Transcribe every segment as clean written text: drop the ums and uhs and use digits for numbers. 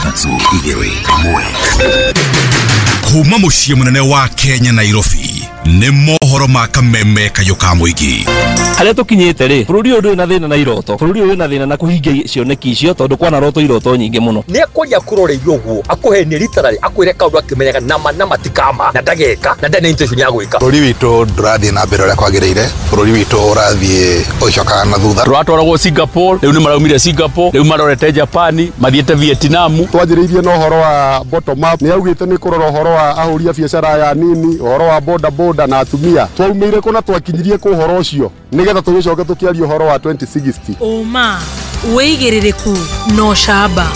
3 2 1. Kuma mũciĩ mũnene wa Kenya Nairobi nĩ mohoro ma kameme kayũ ka mũingĩ. Harĩa tũkinyĩte rĩ, bũrũri ũyũ ndũrĩ na thĩna na iroto, bũrũri ũyũ wĩna thĩna na kũhingia cioneki icio tondũ kwana roto iroto nyingĩ mũno. Nĩ akwaria akũroreirie ũguo akũhenie literally akwĩre kaũndũ akĩmenyaga nama nama ti kama na ndageka na ndarĩ na intention ya gwĩka. Bũrũri witũ ndũrathiĩ na mbere ũrĩa kwagĩrĩire, bũrũri witũ ũrathiĩ ũgĩcokaga na thutha. Tũratwaragwo Singapore, rĩu nĩ maraumire Singapore, rĩu marorete Japan, mathiĩte Vietnam. Twanjĩrĩirie na ũhoro wa bottom up, nĩ augĩte nĩ kũrora ũhoro wa ahũri a biacara aya nini, ũhoro wa boda boda na atumia. Twaumĩire kũ na twakinyirie kũ ũhoro ũcio nĩgetha tũgĩcoke tũkĩaria ũhoro wa 2060. Ũma, wĩigĩrĩrĩku na ũcamba.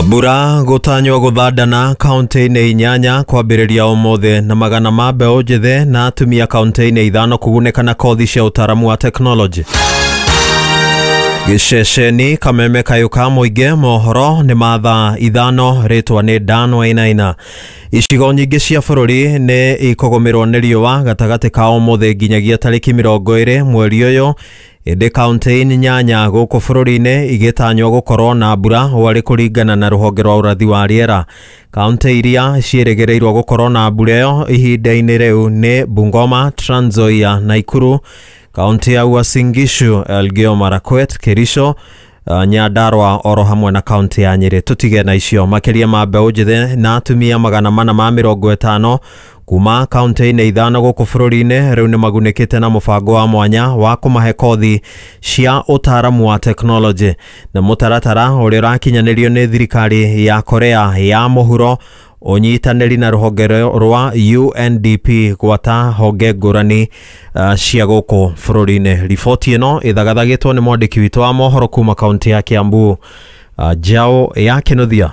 Mbura gũtanywo gũthandana kaunti-inĩ 8 kwambĩrĩria ũmũthĩ na magana ma mbeũ njĩthĩ na atumia kaunti-inĩ 5 kũgunĩka na kothi cia ũtaaramu wa tekinoronjĩ. Gĩceceni kameme kayũ ka mũingĩ mohoro nĩ ma thaa 5 rĩtwa nĩ Dan Wainaina. Icigo nyingĩ cia bũrũri nĩ ikũgũmĩrwo nĩ riũa gatagatĩ ka ũmũthĩ nginyagia tarĩki 20 mweri ũyũ, ĩndĩ kaunti 8 gũkũ bũrũri-inĩ igĩtanywo gũkorwo na mbura warĩ kũringana na rũhonge rwa ũrathi wa rĩera. Kaunti iria ciĩrĩgĩrĩirwo gũkorwo na mbura ĩyo ihinda-inĩ rĩu nĩ Bungoma, Trans Nzoia, Nakuru, kaunti ya Uasin Gishu, Elgeyo Marakwet, Kericho, Nyandarua oro hamwe na kaunti ya Nyeri. Tutige na icio makĩria ma mbeũ njĩthĩ na atumia 450 kuma kaunti-inĩ 5 gũkũ bũrũri-inĩ rĩu nĩ magunĩkĩte na mũbango wa mwanya wa kũmahe kothi cia ũtaaramu wa tekinoronjĩ na mũtaratara ũrĩa ũrakinyanĩrio nĩ thirikari ya Korea ya mũhuro ũnyitanĩri na rũhonge rwa UNDP gwata honge ngũrani cia gũkũ bũrũri-inĩ. Riboti ĩno ĩthagathagĩtwo nĩ mwandĩki witũ wa mohoro kuma kaunti ya Kiambu, Njau ya Kĩnuthia.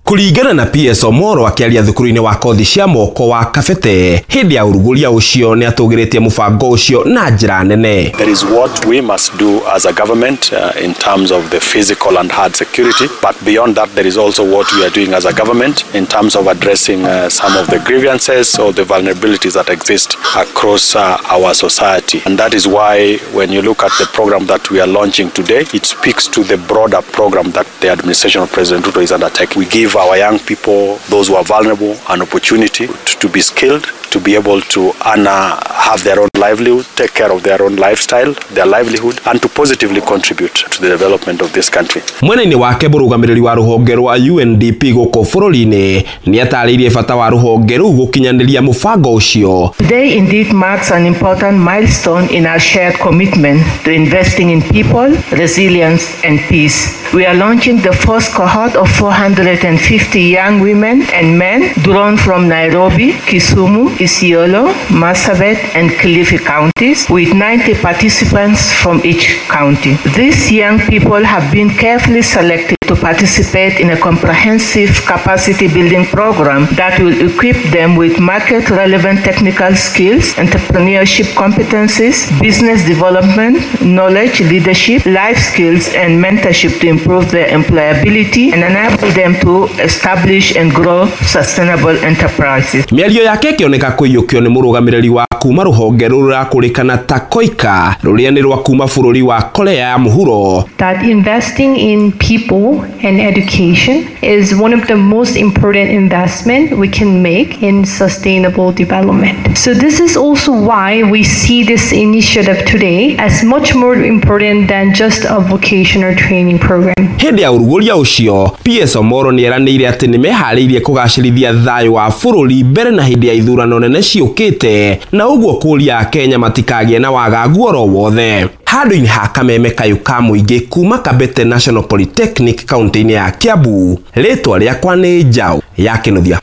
Kũringana na PS Omoro akĩaria thukuru-inĩ wa kothi cia moko wa Kabete hĩndĩ ya ũrugũria ũcio nĩ atũgĩrĩtie mũbango ũcio na njĩra nene. There is what we must do as a government in terms of the physical and hard security, but beyond that there is also what we are doing as a government in terms of addressing some of the grievances or the vulnerabilities that exist across our society. And that is why when you look at the program that we are launching today, it speaks to the broader program that the administration of President Ruto is undertaking. We give our young people, those who are vulnerable, an opportunity to be skilled, to be able to have their own livelihood, take care of their own lifestyle, their livelihood, and to positively contribute to the development of this country. Mwena-inĩ wake mũrũgamĩrĩri wa rũhonge rwa UNDP gũkũ bũrũri-inĩ nĩ atarĩirie bata wa rũhonge rũu gũkinyanĩria mũbango ũcio. Today indeed marks an important milestone in our shared commitment to investing in people, resilience and peace. We are launching the first cohort of 450 young women and men drawn from Nairobi, Kisumu, Isiolo, Marsabit and Kilifi counties, with 90 participants from each county. These young people have been carefully selected to participate in a comprehensive capacity building program that will equip them with market-relevant technical skills, entrepreneurship competencies, business development, knowledge, leadership, life skills, and mentorship to improve their employability and enable them to establish and grow sustainable enterprises. Mĩario yake ĩkĩoneka kũiyũkio nĩ mũrũgamĩrĩri wa kuma rũhonge rũrakũrĩkana ta KOICA rũrĩa nĩ rwa kuma bũrũri wa Korea ya mũhuro. That investing in people and education is one of the most important investment we can make in sustainable development. So this is also why we see this initiative today as much more important than just a vocational training program. Hĩndĩ ya ũrugũria ũcio, PS Omoro nĩ eranĩire atĩ nĩ meharĩirie kũgacĩrithia thayũ wa bũrũri mbere na hĩndĩ ya ithurano nene ciũkĩte, na ũguo kũria Akenya matikagĩe na wagagu oro wothe. Handũ-inĩ ha kameme kayũ ka mũingĩ kuma Kabete National Polytechnic kaunti-inĩ ya Kiambu, rĩtwa rĩakwa nĩ Njau ya Kĩnuthia.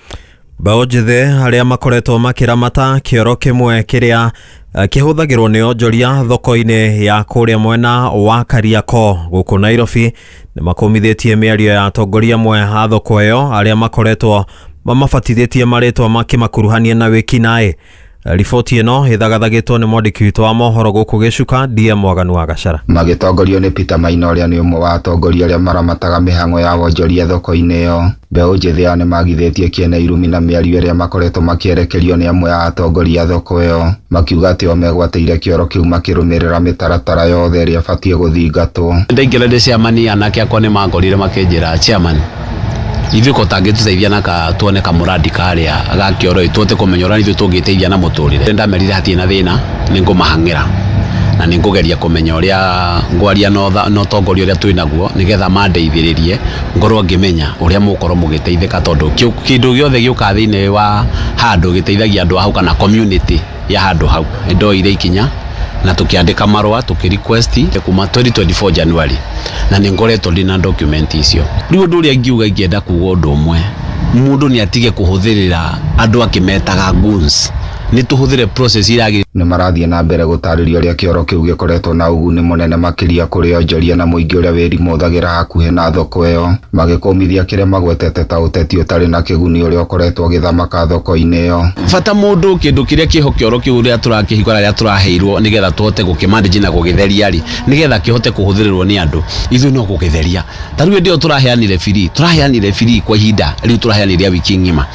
Mbeũ njĩthĩ arĩa makoretwo makĩramata kĩoro kĩmwe kĩrĩa kĩhũthagĩrwo nĩ onjoria thoko-inĩ ya kũrĩa mwena wa Kariakoo gũkũ Nairobi nĩ makũmithĩtie mĩario ya atongoria amwe a thoko ĩyo arĩa makoretwo mamabatithĩtie marĩtwa makĩmakuruhania na wĩkinaĩ. Riboti ĩno ĩthagathagĩtwo nĩ mwandĩki witũ wa mohoro gũkũ Gĩcuka DM Mwaganu wa Gacara. Magĩtongorio nĩ Peter Maina ũrĩa nĩ ũmwe wa atongoria arĩa maramataga mĩhang'o ya wonjoria thoko-inĩ ĩyo. Mbeũ njĩthĩ aya nĩmagithĩtie kĩene irumi na mĩario ĩrĩa makoretwo makĩerekerio nĩ amwe a atongoria a thoko ĩyo, makiuga atĩ o megwatĩire kĩoro kĩu makĩrũmĩrĩra mĩtaratara yothe ĩrĩa ĩbatiĩ gũthingatwo. Ndaingĩra ndĩ chairman, anake akwa nĩ mangorire makĩnjĩra, chairman, ithuĩ ko tangĩtũteithia na ka tuone kamũrandi karĩa ga kĩoro ĩ tũhote kũmenya ũrĩa ithuĩ tũngĩteithia na mũtũrĩre. Ndamerire hatirĩ na thĩna, nĩ ngũmahang'ĩra na nĩ ngũgeria kũmenya ũrĩa ngwaria na ũtongoria ũrĩa twĩ naguo nĩgetha mandeithĩrĩrie ngorwo ngĩmenya ũrĩa mũgũkorwo mũgĩteithĩka, tondũ kĩndũ gĩothe gĩũkaga thĩinĩ wa handũ gĩteithagia andũ a hau kana community ya handũ hau. Nĩndoire ikinya na tukiandika marũa tuki request kuma 2024 January, na nĩ ngoretwo ndĩ na document icio. Rĩu ũndũ ũrĩa ingiuga, ingĩenda kuga ũndũ ũmwe, mũndũ nĩ atige kũhũthĩrĩra andũ akĩmetaga goons, nĩ tũhũthĩre process iragĩ. Nĩ marathiĩ na mbere gũtarĩria ũrĩa kĩoro kĩu gĩkoretwo na ũguni mũnene makĩria kũrĩ onjoria na mũingĩ ũrĩa wĩrimũthagĩra hakuhĩ na thoko ĩyo, magĩkũmithia kĩrĩa magwetete ta ũteti ũtarĩ na kĩguni ũrĩa ũkoretwo ũgĩthamaka thoko-inĩ ĩyo. Bata mũndũ kĩndũ kĩrĩa kĩho kĩoro kĩu ũrĩa tũrakĩhingũra rĩrĩa tũraheirwo nĩgetha tũhote gũkĩmanage na gũgĩtheria rĩ, nĩgetha kĩhote kũhũthĩrĩrwo nĩ andũ, ithuĩ no gũgĩtheria. Ta rĩu hĩndĩ ĩyo tũraheanire free kwa ihinda rĩu tũraheanire wiki ng'ima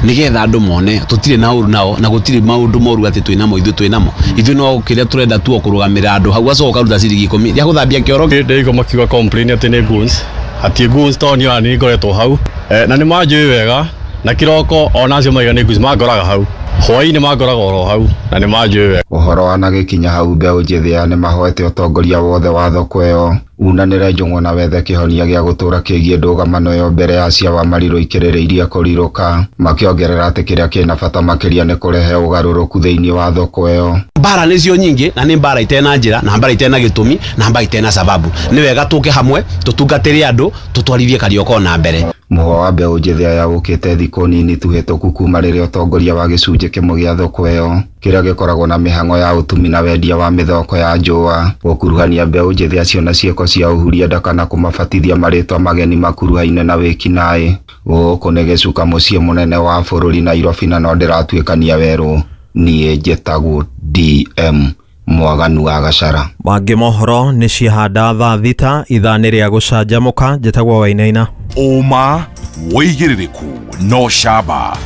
nĩgetha andũ mone tũtirĩ na ũru nao na gũtirĩ maũndũ moru atĩ twĩnamo ithuĩ twĩnamo ithuĩ no kĩrĩa tũrenda tu o kũrũgamĩrĩra andũ hau, acoka ũkaruta ciringi 10 rĩa gũthambia kĩoro. Ndĩraigua makiuga complain atĩ nĩ goons, hatirĩ goons tondũ niĩ ona nĩ ngoretwo hau na nĩ manjũĩ wega, na kĩroko ona acio maiga nĩ goons mangoraga hau, hwaĩ-inĩ mangoraga oro hau na nĩ manjũĩ wega. Ũhoro wanagĩkinya hau, mbeũ njĩthĩ aya nĩ mahoete ũtongoria wothe wa thoko ĩyo unanĩre njũng'wa na wethe kĩhonia gĩa gũtũũra kĩgiĩ ndũgamano ĩyo mbere ya cia Wamarirũ ikĩrĩrĩirie kũrirũka, makĩongerera atĩ kĩrĩa kĩna bata makĩria nĩ kũrehe ũgarũrũku thĩinĩ wa thoko ĩyo. Mbara nĩcio nyingĩ na nĩ mbara itena njĩra na mbara itena gĩtũmi na mbara itena sababu. Nĩ wega tũke hamwe tũtungatĩre andũ tũtwarithie Kariokor na mbere. Mũhwa wa mbeũ njĩthĩ aya ũkĩte thikũ nini tu hĩtũku kuma rĩrĩa ũtongoria wa gĩcunjĩ kĩmwe gĩa thoko ĩyo kĩrĩa gĩkoragwo na mĩhang'o ya ũtumi na wendia wa mĩthoko ya njũa gũkuruhania mbeũ njĩthĩ acio na ciĩko cia ũhuria nda kana kũmabatithia marĩtwa mageni makuruhaine na wĩkinaĩ. Gũkũ nĩ Gĩcuka, mũciĩ mũnene wa bũrũri Nairobi, na no ndĩratuĩkania werũ. Niĩ njĩtagwo DM Mwaganu wa Gacara. Mangĩ mohoro nĩ ciahanda thaa 6 ithaa nĩ rĩa gũcanjamũka. Njĩtagwo Wainaina. Ũma wĩigĩrĩrĩku no camba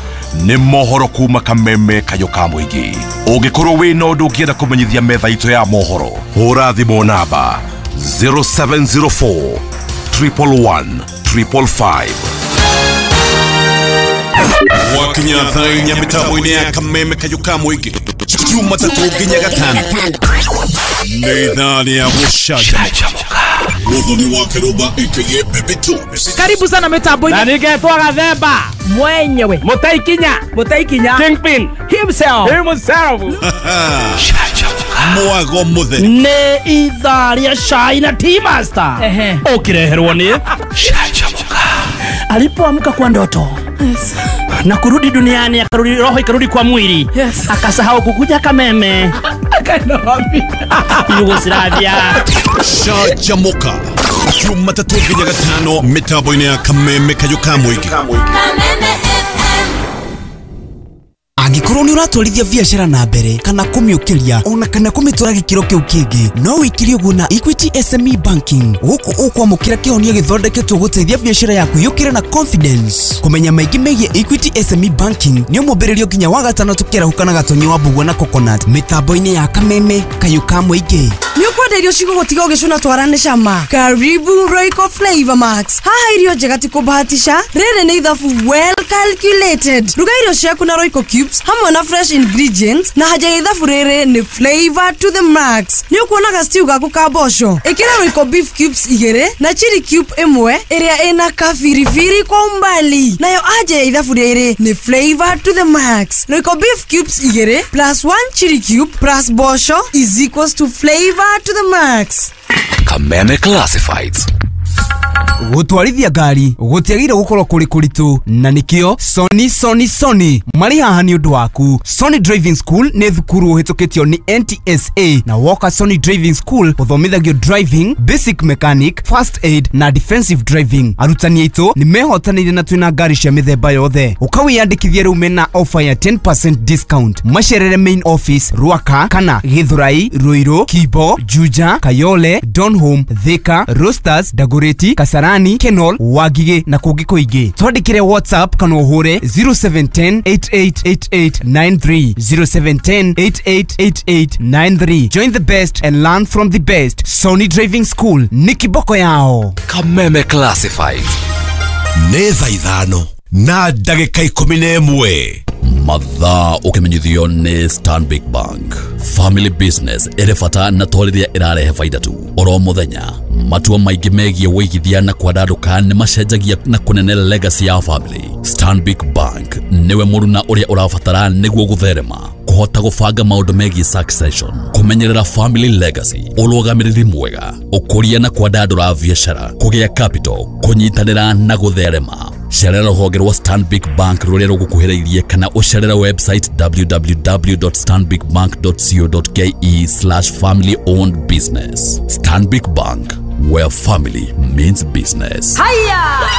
nĩ mohoro kuma Kameme kayũ ka mũingĩ. Ũngĩkorwo wĩna ũndũ ũngĩenda kũmenyithia metha itũ ya mohoro, hũra thimũ namba 0704 111 555. Wakinya thaa 4 mĩtambo-inĩ ya Kameme kayũ ka mũingĩ, Jumatatũ nginya Gatano nĩ ithaa rĩa gũcanjamũka. Muthoni wa Kĩrũmba aka Baby Tubes. Karibu sana mitambo-inĩ. Na ningetwo Gathemba mwenyewe, Mũtaikinya Kingpin himself. Mwago mũtheri nĩ ithaa rĩa cai na tea master ũkĩreherwo nĩ Canjamũka. Alipoamka kwa ndoto na kurudi duniani, akarudi roho ikarudi kwa mwili, akasahau kukuja Kameme, akaenda wapi? Yugoslavia. Canjamũka Jumatatũ nginya Gatano mĩtambo-inĩ ya Kameme kayũ ka mũingĩ. Angĩkorwo nĩ ũratwarithia biacara na mbere kana kũmĩũkĩria ona kana kũmĩtwara gĩkĩro kĩu kĩngĩ, no wĩkire ũguo na Equity SME Banking. Gũkũ ũkwamũkĩra kĩhonia gĩthondeketwo gũteithia biacara yaku yũkĩre na confidence. Kũmenya maingĩ megiĩ Equity SME Banking nĩ ũmũmbĩrĩrio nginya wa gatano tũkĩarahũka na Gatonyi wa Mbugua na Coconut mĩtambo-inĩ ya Kameme kayũ ka mũingĩ. Nĩ ũkwenda irio cigũgũtiga ũgĩcũna twara nĩ cama? Karibu Royco Flavor Max. Haha irio njega ti kũbahatisha, rĩrĩ nĩ ithabu well calculated. Ruga irio ciaku na Royco cubes hamwe na fresh ingredients, na haja ya ithabu rĩrĩ nĩ flavor to the max. Nĩ ũkuonaga stew gaku ka mboco, ĩkĩra Royco beef cubes 2 na chili cube 1 ĩrĩa ĩna kabiribiri kwa umbali. Nayo aja ya ithabu rĩrĩ nĩ flavor to the max. Royco beef cubes 2 plus 1 chili cube plus mboco is equals to flavor to the max. Kameme Classifieds. Gũtwarithia ngari gũtiagĩrĩire gũkorwo kũrĩ kũritũ, na nĩkĩo Sony Sony Sony marĩ haha nĩ ũndũ waku. Sony Driving School nĩ thukuru ũhĩtũkĩtio nĩ NTSA, na woka Sony Driving School ũthomithagio driving, basic mechanic, first aid na defensive driving. Arutani aitũ nĩ mehotanĩire na twĩna ngari cia mĩthemba yothe. Ũkawĩyandĩkithia rĩu mena offer ya 10% discount. Macerere main office Ruaka kana Githurai, Ruiru, Kibo, Juja, Kayole, Donholm, Thika, Roasters, Dagoretti, Kasarani, Kenol, Wangigĩ na kũngĩ kũingĩ. Twandĩkĩre WhatsApp kana ũhũre 0710 888893, 0710 888893. Join the best and learn from the best. Sony Driving School nĩ kiboko yao. Kameme Classifieds. Nĩ thaa 5:11. Mathaa ũkĩmenyithio nĩ Stanbic Bank. Family business ĩrĩ bata na to rĩrĩa ĩrarehe baida tu. Oro mũthenya matua maingĩ megiĩ wĩigithia na kwandandũka nĩ macenjagia na kũnene legacy ya family. Stanbic Bank nĩwe mũruna ũrĩa ũrabatara nĩguo gũtherema, kũhota gũbanga maũndũ megiĩ succession, kũmenyerera family legacy, ũrũgamĩrĩri mwega, ũkũria na kwandandũra biacara, kũgĩa capital, kũnyitanĩra na gũtherema. Cerera rũhonge rwa Stanbic Bank rũrĩa rũgũkuhĩrĩirie kana ũcerere website www.stanbicbank.co.ke/family owned business. Stanbic Bank, where family means business. Haya.